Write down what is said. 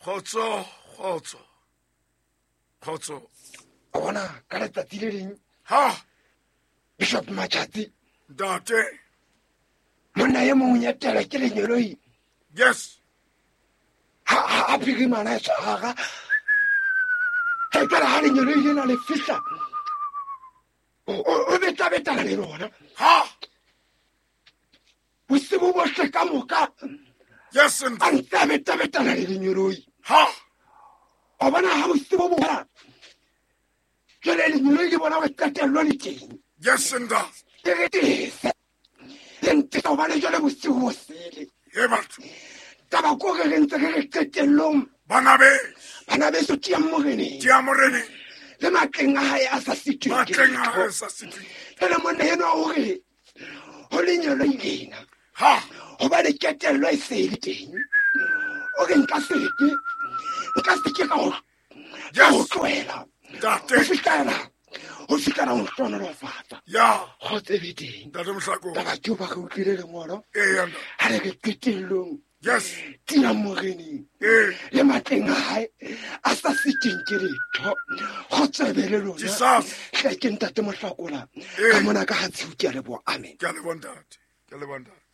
Kgotso, kgotso, kgotso. O bona ka letsatsi le leng, Ha, Bishop Matšatsi, ntate. Monna e mongwe ya tela ke lenyeloi. Yes. Ha a phirimana e tshwara e kare ha lenyeloi lena le fihla, o betabetana le lona. Ha. Bosibo bohle ka moka. Yes. A ntse a betabetana le lenyeloi. Ha. O bona ha bosibo bo fela, jwale lenyeloi le bona gore qetello le teng. Yes, ntate. Ke re tese le ntesa gobane jwale bosigo bo sele. E batho. Taba ko re re ntse re re qetellong. Bana be. Bana beso, tiang Moreneng. Tia Moreneng. Le matleng a hae a sa sitweng ke Matleng a letho. hae sa sitweng. Jwale monna enwa o re ho lenyeloi lena, Ha. gobane ketello e se e le teng, o re nka seke ka go ka go tlohela Ntate. ho fihlela ho hlohonolofatsa. Ya. Kgotso e be teng. Ntate Mohlako. Taba ke ba re utlwile lengolo Eya, ntate. ha le re qetellong, tiang Moreneng Ee. le matleng a hae a sa siteng ke letho. Kgotso e be le lona. Jesus. Hle ke ntate Mohlakola Ee. ka mona ka ha tshiu. Ke a leboha, amen. Ke a leboha, ntate. Ke a leboha, ntate.